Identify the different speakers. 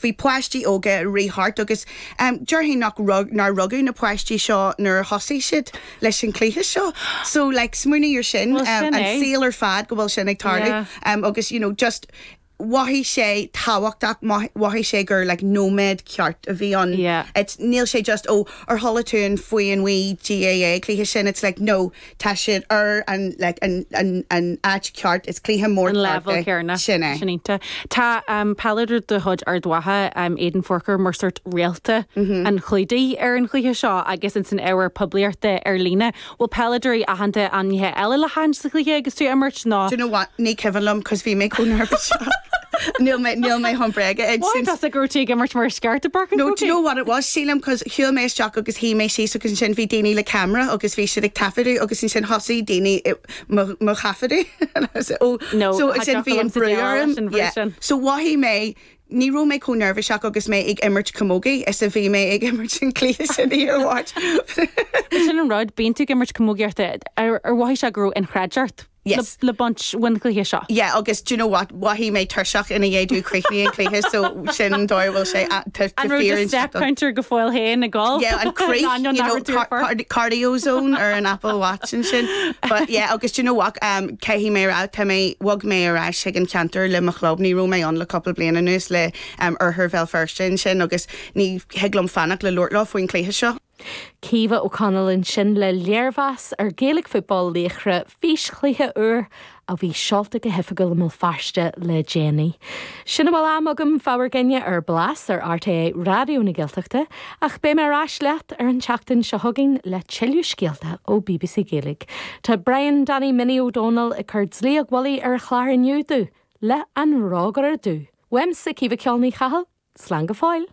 Speaker 1: Bhí páistí óga ag rith thart agus déarfainn nach rug, nár rugadh na páistí seo nuair a thosaigh siad leis an chluiche seo. So like smaoinigh ar sin,
Speaker 2: Well sin
Speaker 1: an
Speaker 2: é.
Speaker 1: saol ar fad go bhfuil sin ag tarlú
Speaker 2: Yeah.
Speaker 1: agus you know just mhothaigh sé tábhachtach, mhothaigh sé gur like nóiméad ceart a bhí ann.
Speaker 2: Yeah.
Speaker 1: It's, níl sé just oh ar chuala tú an faoi an wee GAA cluiche sin, it's like no, tá siad ar an like an an an áit ceart, is cluiche mór
Speaker 2: An
Speaker 1: ceart
Speaker 2: leibhéal
Speaker 1: é.
Speaker 2: céanna.
Speaker 1: Sin é.
Speaker 2: Sin iontach. Tá peileadóir de chuid Ard Mhacha, Aidan Forker, mar sórt réalta an chlúdaigh ar an chluiche seo agus ins an ábhar poiblíochta ar líne. Bhfuil peileadóirí aitheanta ainmnithe eile le haithint sa chluiche agus tú ag imirt nó?
Speaker 1: Do you know what, ní cuimhin liom cos bhí mé chomh neirbhíseach. Níl mé, níl mé chun bréige a
Speaker 2: Mhothaigh
Speaker 1: insint.
Speaker 2: tusa go raibh tú ag imirt mar is ceart i bPáirc an
Speaker 1: No, do you
Speaker 2: Chrócaigh?
Speaker 1: know what it was, sílim, cos shiúil mé isteach agus shuigh mé síos agus ansin bhí daoine le camera agus bhí siad ag taifeadadh agus ansin thosaigh daoine i mo, mo thaifeadadh and I was like, oh,
Speaker 2: No,
Speaker 1: so
Speaker 2: tá
Speaker 1: ansin
Speaker 2: deoch
Speaker 1: bhí an
Speaker 2: liom sa
Speaker 1: brú
Speaker 2: déileáil
Speaker 1: orm.
Speaker 2: leis an bhrú
Speaker 1: Yeah.
Speaker 2: sin.
Speaker 1: So mhothaigh mé Ní raibh mé chomh neirbhíseach agus mé ag imirt camogie is a bhí mé ag imirt an cluiche sin oíche Mháirt.
Speaker 2: Sin an rud, bíonn tú ag imirt camógaíochta, ar mhothaigh sé go raibh inchreidteacht
Speaker 1: Yes.
Speaker 2: le baint ón chluiche seo?
Speaker 1: Yeah, agus do you know what, mhothaigh mé tuirseach ina dhiaidh dom críochnaigh an cluiche so sin an dóigh a bhfuil sé tá
Speaker 2: An raibh
Speaker 1: fíor
Speaker 2: do step counter go fóill féin ag gol?
Speaker 1: Yeah, an crith,
Speaker 2: Ainneoin
Speaker 1: you
Speaker 2: nach
Speaker 1: know,
Speaker 2: raibh tú ar
Speaker 1: car
Speaker 2: phort.
Speaker 1: cardio zone ar an Apple Watch ansin. But yeah, agus do you know what, um, caithfidh mé a rá, tá mé, bhog mé ar ais chuig an cheantar le mo chlub, ní raibh mé ann le cúpla bliain anuas le um, Oirthear Bhéal Feirste ansin agus ní thig liom fanacht le labhairt leo faoin chluiche seo.
Speaker 3: Caoimhe O'Connell ansin le léirmheas ar Gaelic Football Laochra físchluiche úr a bhí seolta go hoifigiúil i mBéal Feirste le déanaí. Sin a bhfuil am agam fá bhur gcoinne ar Blas ar RTÉ Raidió na Gaeltachta ach beidh mé ar ais leat ar an tseachtain seo chugainn le tuilleadh scéalta ó bbc Gaeilge. Tá Brian Danny Minnie Ó Dónaill ag cur dlaíocht mhullaigh ar a chlár inniu domh le An Rógaire Dubh. Uaimse Caoimhe Ceol Ní Chathail, slán go fóill!